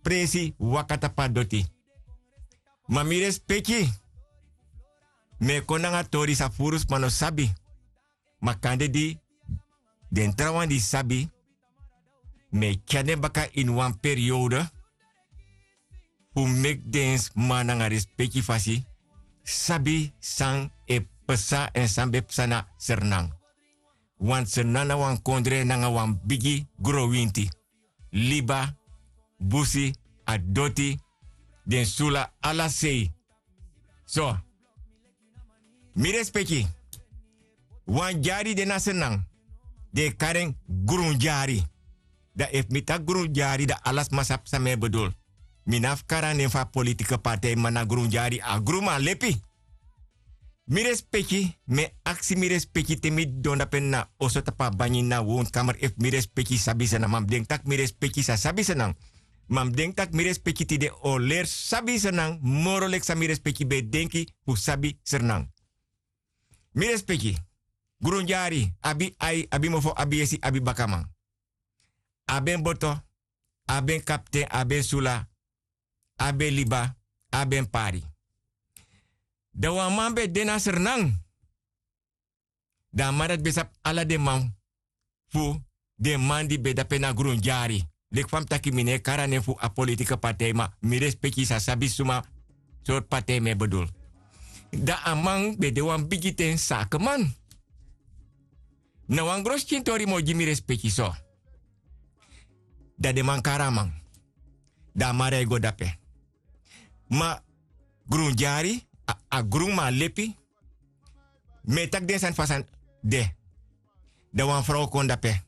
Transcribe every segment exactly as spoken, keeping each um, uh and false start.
presi waka tapu a doti. Ma mi respeki, mi e kon nanga tori san furu sma no sabi. Ma kande di den trawan di sabi, mi e tyari den baka ini wan periode fu meki den sma nanga respeki fasi sabi san e psa èn san ben psa na Sranan. Wan Sranan na wan kondre nanga wan bigi growinti, liba, busi, a doti, den sula, ala sei. So, mi respeki, wan dyari de na Sranan, den e kari en grundyari. Dan efu mi taki grundyari, dan ala sma sabi san mi e bedul. Mi no abi fu kari a nen fu a politike partij, ma na grundyari, a grunman lepi. Mi respeki, mi e aksi mi respeki te mi didon dape na oso tapu a banyi na woonkamer, efu mi respeki sabi Sranan. Ma mi denki tak' mi respeki sa sabi Sranan. Ma mi denki tak' mi respeki tide o leri sabi Sranan moro leki san mi respeki ben e denki fu sabi Sranan. Mi respeki, grundyari abi ai, abi mofo, abi yesi, abi bakaman. Abi en boto, abi en kapten, abi en sula, abi en liba, abi en pari. Dan wan man ben de na Sranan. Dan a man dati ben sabi ala den man fu den man di ben dape na grundyari. Leki fa mi taki, mi no e kari a nen fu a politike partij, ma mi respeki sa sabi suma sortu partij mi e bedul. Dan a man ben de wan bigi ten sakeman. Na wan gron skin tori mi o gi mi respeki so. Dan den man kari a man. Dan a man rei go dape. Ma grundyari, a, a grunman lepi, mi e taki den sani fa sani de. Dan wan frow kon dape.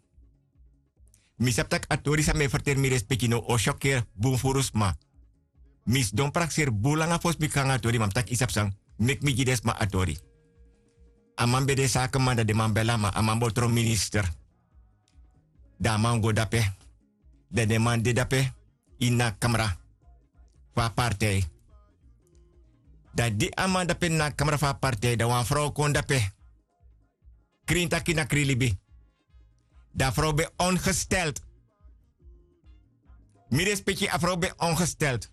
Mi sabi tak' a tori san mi e ferteri, mi respeki, no o syokeri bun furu sma. Mi sidon prakseri bun langa fosi mi kon nanga a tori, ma mi taki yu sabi san, meki mi gi den sma a tori. A man ben de sakeman, dan den man beli a man, a man bo tron minister. Dan a man go dape. Dan den man de dape ini a kamra fu a partij. Dan di a man dape na a kamra fu a partij, dan wan frow kon dape. Krin taki na krin libi. Dan a frow ben ongesteld. Mi respeki, a frow ben ongesteld.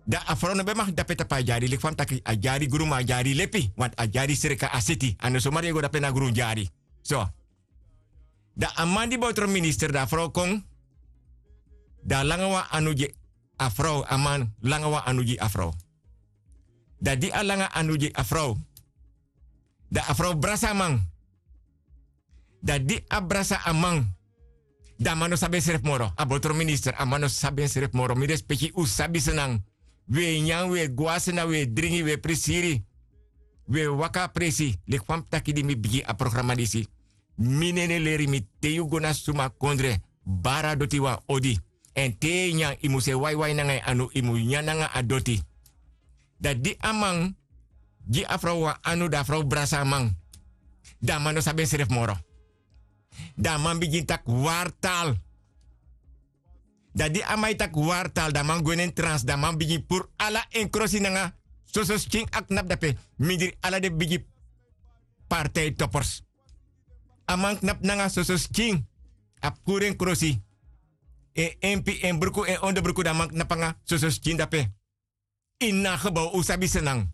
Dan a frow no ben mag dape tapu a dyari, leki fa mi taki, a dyari grunman, a dyari lepi, want a dyari sreka a seti. A no somari e go dape na grundyari. So. Dan a man di bo tron minister, dan a frow kon. Dan a langa wan anu gi a frow, a man langa wan anu gi a frow. Dan di a langa anu gi a frow, dan a frow brasa a man. Dan di a brasa a man, dan a man no sabi ensrefi moro. A bo tron minister, a man no sabi ensrefi moro. Mi respeki, un sabi Sranan. Wi e nyan, wi e go na Sranan, wi e dringi, wi e prisiri. Wi e waka a presi. Leki fa mi taki di mi bigin a programa disi. Mi nene leri mi, te yu go na suma kondre, bari a doti wan odi. Èn te yu e nyan, yu mus e waiwai nanga yu anu, yu mus nyan nanga a doti. Dan di a man gi a frow wan anu, dan a frow brasa a man. Dan a man no sabi ensrefi moro. Dan a man bigin taki wartal. Dan di a man e taki wartal, dan a man gwe na en trans, dan a man bigin puru ala en krosi nanga soso skin a knapu dape, mindri ala den bigi partijtopers. A man knapu nanga soso skin, a puru en krosi, en empi, en bruku, en onderbruku, dan a man knapu nanga soso skin dape. Ini a gebouw, un sabi Sranan.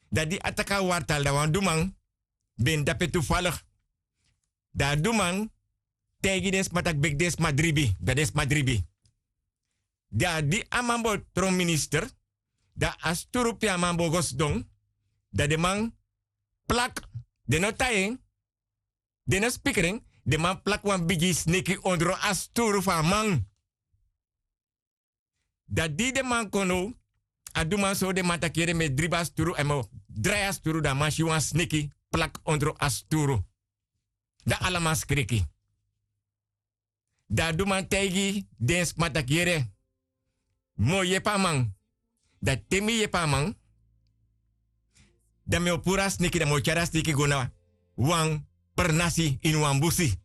Dan di a taki a wartal, dan wan duman ben de dape toevallig. Dan a duman taigi den sma taki meki den sma dribi, dan den sma dribi. Dan di a man bo tron minister, dan a sturu pe a man bo go sidon, dan den man plak, den no tai en, den no spikri en, den man plak wan bigi sneki ondro a sturu fu a man. Dan di den man kon now, a duman sori den man taki yere, mi e dribi a sturu, èn mi o drai a sturu, dan a man si wan sneki plak ondro a sturu. Dan ala man skriki. Dan a duman taigi den sma taki yere, mi o yepi a man. Dan te mi yepi a man, dan mi o puru a sneki, dan mi o tyari a sneki go na wan pernasi ini wan busi.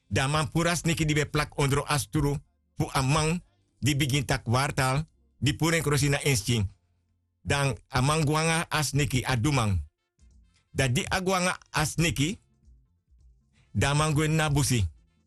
Dan a man puru a sneki di ben plak ondro a sturu fu a man di bigin taki wartal, di puru en krosi na en skin. Dan a man gwe nanga a sneki, a duman. Dan di a gwe nanga a sneki, dan a man gwe ini a busi.